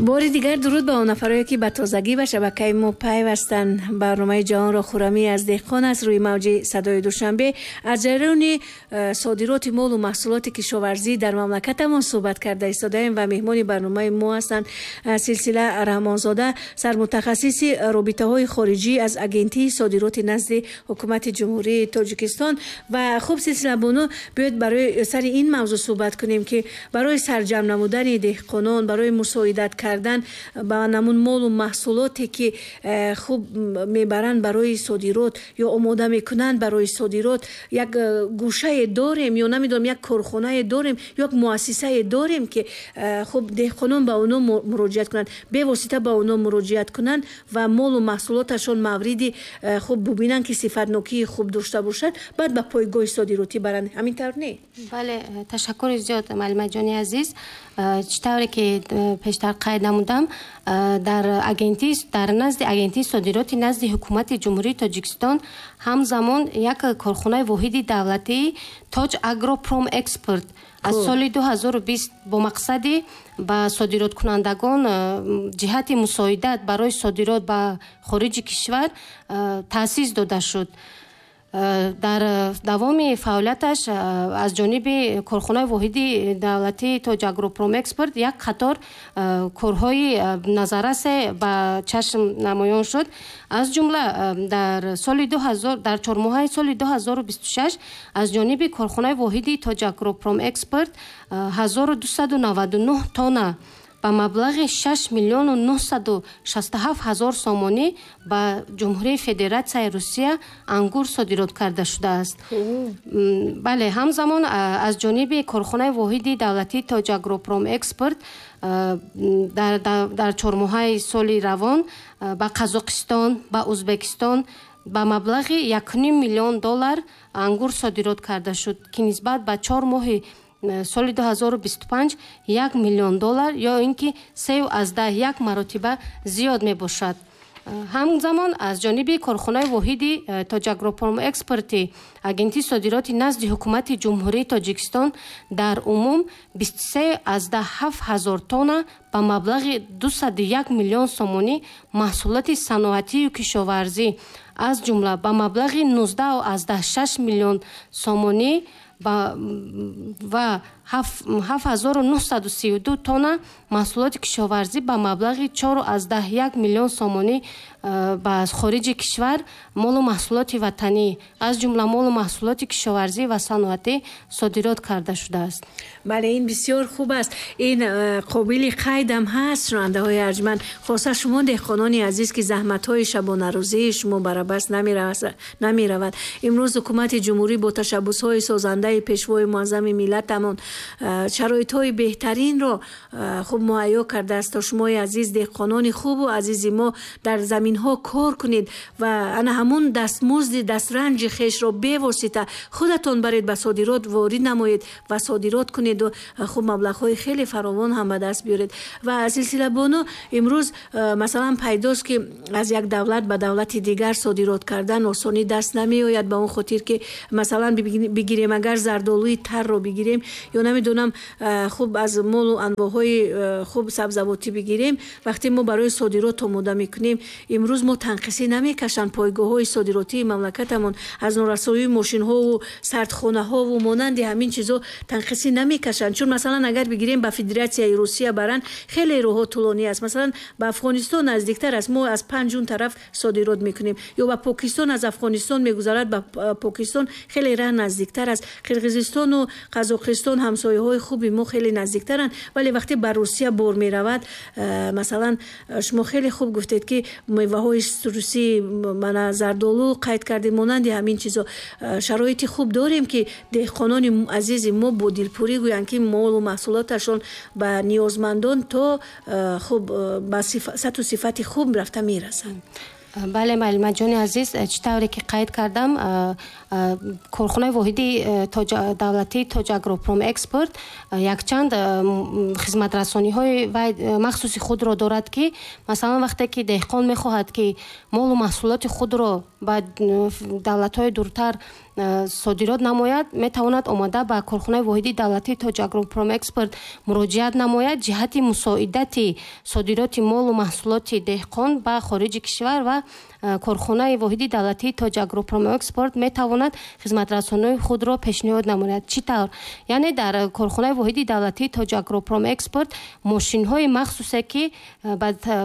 Бори дигар дуруд ба он нафарое, ки ба тозагӣ ба шабакаи мо пайвастанд. Барномаи «Ҷаҳонро хурамӣ аз деҳқон» аст рӯи мавҷи «Садои Душанбе». Аз ҷараёни содироти молу маҳсулоти кишоварзӣ дар мамлакатамон суҳбат карда истодаем ва меҳмони барномаи мо ҳастанд Силсила Раҳмонзода, сармутахассиси робитаҳои хориҷӣ аз Агентии содироти назди Ҳукумати Ҷумҳурии Тоҷикистон. Ва хуб, Силсила бону, биёед, барои сари ин мавзӯъ суҳбат кунем, ки барои сарҷамъ намудани деҳқонон, барои мусоидат кардан ба намун молу маҳсулоте, ки хуб мебаранд барои содирот ё омода мекунанд барои содирот, як гӯшае дорем ё намедонам, як корхонае дорем ё як муассисае дорем, ки хуб деҳқонон ба онҳо муроҷиат кунанд, бевосита ба онҳо муроҷиат кунанд ва молу маҳсулоташон мавриди хуб бубинанд, ки сифатнокии хуб дошта бошад, баъд ба пойгоҳи содиротӣ баранд? Ҳамин тавр не? Бале, ташаккури зиёд, муаллимаҷони азиз. Чӣ тавре ки пештар қайд намудам, дар назди Агентии содироти назди Ҳукумати Ҷумҳурии Тоҷикистон ҳамзамон як корхонаи воҳиди давлатии «Тоҷ Агропром Экспорт» аз соли 2020 бо мақсади ба содироткунандагон ҷиҳати мусоидат барои содирот ба хориҷи кишвар таъсис дода шуд. Дар давоми фаъолияташ аз ҷониби корхонаи воҳиди давлатии «Тоҷагропромэкспорт» як қатор корҳои назаррасе ба чашм намоён шуд. Аз ҷумла дар соли 2000, дар чормоҳаи соли 2026 аз ҷониби корхонаи воҳиди «Тоҷагропромэкспорт» 1299 тонна ба маблағи 6 миллиону 967 ҳазор сомонӣ ба Ҷумҳурии Федератсияи Русия ангур содирот карда шудааст. Бале, ҳамзамон аз ҷониби корхонаи воҳиди давлатии «Тоҷагропромэкспорт» дар чормоҳаи соли равон ба Қазоқистон, ба Ӯзбекистон ба маблағи 1,5 миллион доллар ангур содирот карда шуд, ки нисбат ба 4 моҳи соли 2025 1 миллион доллар ё ин ки 3,1 маротиба зиёд мебошад. Ҳамзамон аз ҷониби корхонаи воҳиди «Тоҷагропромэкспорти» Агентии содироти назди Ҳукумати Ҷумҳурии Тоҷикистон дар умум 23,7 ҳазор тонна ба маблағи 201 миллион сомонӣ маҳсулоти саноатию кишоварзӣ, аз ҷумла ба маблағи 19,6 миллион сомонӣ ва 7932 тонна маҳсулоти кишоварзӣ ба маблағи 4,1 миллион сомонӣ ба хориҷи кишвар молу маҳсулоти ватанӣ, аз ҷумла молу маҳсулоти кишоварзӣ ва саноатӣ содирот карда шудааст. Бале, ин бисёр хуб аст, ин қобили қайдам ҳаст. Шунавандаҳои арҷманд, хоса шумо, деҳқонони азиз, ки заҳматҳои шабонарӯзии шумо бар абас намеравад. Имрӯз Ҳукумати Ҷумҳурӣ бо ташаббусҳои созандаи Пешвои Муаззами миллатамон шароитҳои беҳтаринро хуб муҳайё кардааст, то шумои азиз, деҳқонони хубу азизи мо, дар заминҳо кор кунед ва ана ҳамун дастмузди дастранҷи хешро бевосита худатон баред, ба содирот ворид намоед ва содирот кунеду хуб маблағҳои хеле фаровон ҳам ба даст биёред. Ва, Силсила бону, имрӯз масалан пайдост, ки аз як давлат ба давлати дигар содирот кардан осонӣ даст намеояд, ба он хотир ки масалан бигирем, агар зардолуи тарро бигирем ё намедонам, хуб аз молу анвоъҳои хуб сабзавотӣ бигирем, вақте мо барои содирот омода мекунем, имрӯз мо танқисӣ намекашанд пойгоҳҳои содиротии мамлакатамон, аз норасоии мошинҳову сардхонаҳову монанди ҳамин чизҳо танқисӣ намекашанд? Чун масалан агар бигирем, ба Федератсияи Русия баранд, хеле роҳҳо тӯлонӣ аст. Масалан, ба Афғонистон наздиктар аст, мо аз панҷун тараф содирот мекунем, ё ба Покистон, аз Афғонистон мегузарад ба Покистон, хеле раҳ наздиктар аст. Қирғизистону Қазоқистон ҳамсояҳои хуби мо, хеле наздиктаранд. Вале вақте ба Русия бор меравад, масалан, шумо хеле хуб гуфтед, ки меваҳои цитрусӣ, мана зардолу қайд кардем, монанди ҳамин чизо, шароити хуб дорем, ки деҳқонони азизи мо бо дилпурӣ гӯянд, ки молу маҳсулоташон ба ниёзмандон то хуб ба сатҳу сифати хуб рафта мерасанд. Бале, муаллимаҷони азиз, чӣ тавре ки қайд кардам. Корхонаи воҳиди давлатии Тоҷагропромэкспорт якчанд хизматрасониҳои махсуси худро дорад, ки масалан, вақте ки деҳқон мехоҳад, ки молу маҳсулоти худро ба давлатҳои дуртар содирот намояд, метавонад омада ба корхонаи воҳиди давлатии Тоҷагропромэкспорт муроҷиат намояд ҷиҳати мусоидати содироти молу маҳсулоти деҳқон ба хориҷи кишвар, ва корхонаи воҳиди давлатии Тоҷагропромэкспорт метавонад хизматрасониҳои худро пешниҳод намояд. Чӣ тавр? Яъне дар корхонаи воҳиди давлатии Тоҷагропромэкспорт мошинҳои махсусе, ки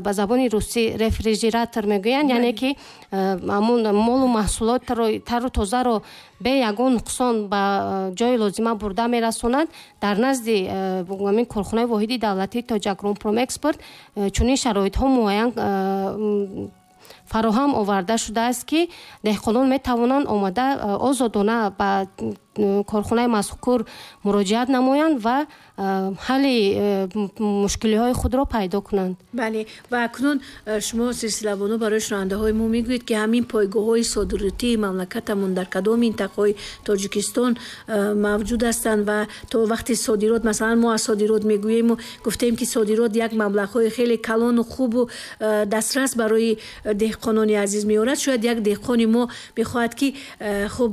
ба забони русӣ рефрижератор мегӯянд, яъне ки ҳамун молу маҳсулотро тару тозаро бе ягон нуқсон ба ҷои лозима бурда мерасонад, дар назди ҳамин корхонаи воҳиди давлатии Тоҷагропромэкспорт чунин шароитҳо муайян фароҳам оварда шудааст, ки деҳқонон метавонанд омада озодона ба корхонаи мазкур муроҷиат намоянд ва ҳалли мушкилиҳои худро пайдо кунанд. Бале, ва акнун шумо, Силсилабону, барои шунавандаҳои мо мегӯед, ки ҳамин пойгоҳҳои содиротии мамлакатамон дар кадом минтақаҳои Тоҷикистон мавҷуд ҳастанд ва то вақти содирот, масалан, мо аз содирот мегӯему гуфтем, ки содирот як маблағҳои хеле калону хубу дастрас барои деҳқонони азиз меорад. Шояд як деҳқони мо мехоҳад, ки хуб,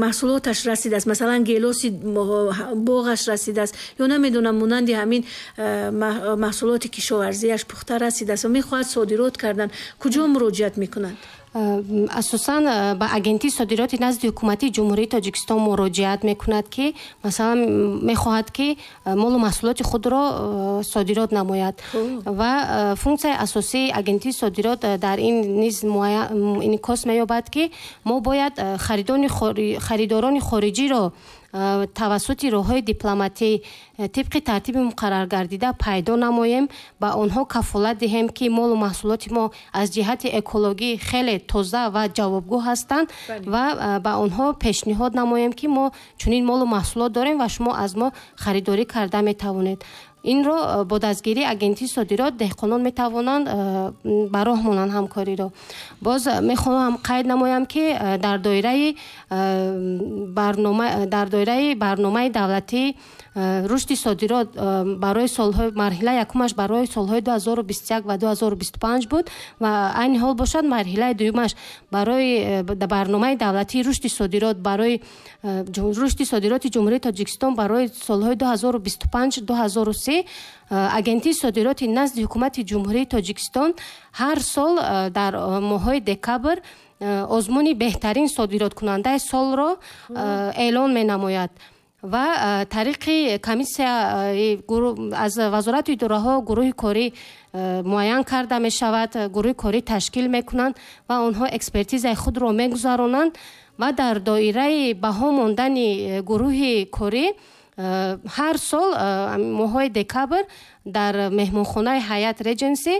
маҳсулоташ расидааст, масалан, гелоси боғаш расидааст ё намедонам, монанди ҳамин маҳсулоти кишоварзиаш пухта расидааст ва мехоҳад содирот кардан, куҷо муроҷиат мекунанд? Асосан ба Агентии содироти назди ҳукуматии Ҷумҳурии Тоҷикистон муроҷиат мекунад, ки масалан мехоҳад, ки молу маҳсулоти худро содирот намояд. Ва функсияи асосии Агентии содирот дар ин низ инъикос меёбад, ки мо бояд харидорони хориҷиро тавассути роҳҳои дипломатӣ тибқи тартиби муқарраргардида пайдо намоем, ба онҳо кафолат диҳем, ки молу маҳсулоти мо аз ҷиҳати экологӣ хеле тоза ва ҷавобгӯ ҳастанд, ва ба онҳо пешниҳод намоем, ки мо чунин молу маҳсулот дорем ва шумо аз мо харидорӣ карда метавонед. Инро бо дастгирии Агентии содирот деҳқонон метавонанд ба роҳ монанд ҳамкориро. Боз мехоҳам қайд намоям, ки дар доираи барномаи давлатии рушди содирот барои солҳои, марҳилаи якумаш барои солҳои 2021 ва 2025 буд ва айни ҳол бошад, марҳилаи дуюмаш барои барномаи давлатии рушди содирот барои рушди содироти Ҷумҳурии Тоҷикистон барои солҳои 2025 2030, Агентии содироти назди ҳукумати Ҷумҳурии Тоҷикистон ҳар сол дар моҳҳои декабр озмуни беҳтарин содироткунандаи солро эълон менамояд ва тариқи комиссия аз вазорату идораҳо гурӯҳи корӣ муайян карда мешавад, гурӯҳи корӣ ташкил мекунанд ва онҳо экспертизаи худро мегузаронанд ва дар доираи баҳо мондани гурӯҳи корӣ ҳар сол моҳҳои декабр дар меҳмонхонаи Ҳаят Реҷенси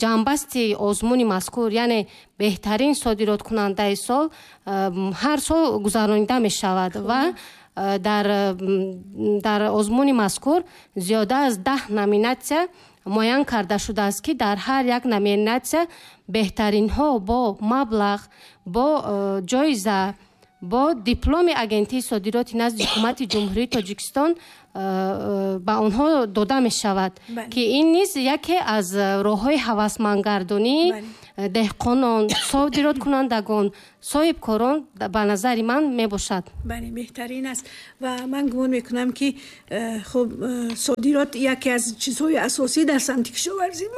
ҷамъбасти озмуни мазкур, яъне беҳтарин содироткунандаи сол, ҳар сол гузаронида мешавад ва дар озмуни мазкур зиёда аз 10 номинатсия муайян карда шудааст, ки дар ҳар як номинатсия беҳтаринҳо бо маблағ, бо ҷоиза, бо дипломи Агентии содироти назди ҳукумати Ҷумҳурии Тоҷикистон ба онҳо дода мешавад, ки ин низ яке аз роҳҳои ҳавасмандгардонии деҳқонон, содироткунандагон, соҳибкорон ба назари ман мебошад. Бале, беҳтарин аст ва ман гумон мекунам, ки хуб, содирот яке аз чизҳои асосӣ дар самти кишоварзии